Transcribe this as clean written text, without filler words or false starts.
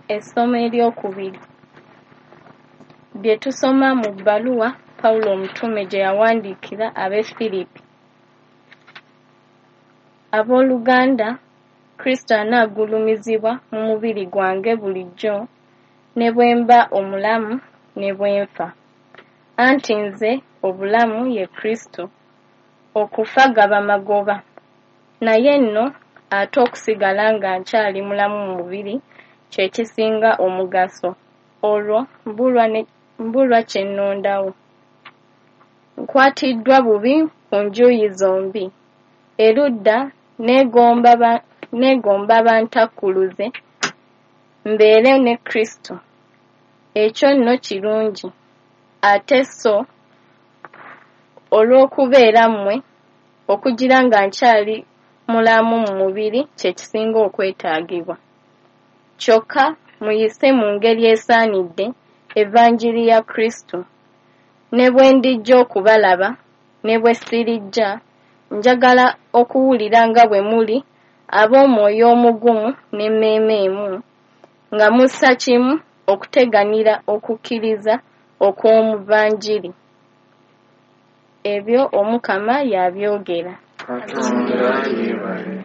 Essomo eryokubiri. Bye tusoma mu bbaluwa Pawulo Omutume gye yawandiikira ab'e Firipi. Abooluganda, Kristo anaagulumizibwa mu mubiri gwange bulijjo, ne bwe mba omulamu ne bwe nfa. Anti nze obulamu ye Kristo, okufa gaba magoba. Naye nno ate okusigala nga nkyali mulamu mu mubiri kye kisinga omugaso, olwo mbulwa kye nnondawo. Nkwatiddwa bubi ku njuyi zombi. Erudda neegomba bantakkuluze mbeere ne Kristo, ekyo nno kirungi, ate sso olw'okubeera mmwe, okugira nga nkyali mulamu mu mubiri kye kisinga okwetaagibwa. Kyokka muyise mu ngeri esaanidde Evanjiri ya Kristo. Ne bwe ndijja okubalaba, ne bwe sirijja, njagala okuwulira nga bwe muli ab'omwoyo omugumu n'emmeeme emu, nga mussa kimu okuteganira okukkiriza okw'omu Vanjiri. Ebyo Omukama y'abyogera. Katonda yeebale.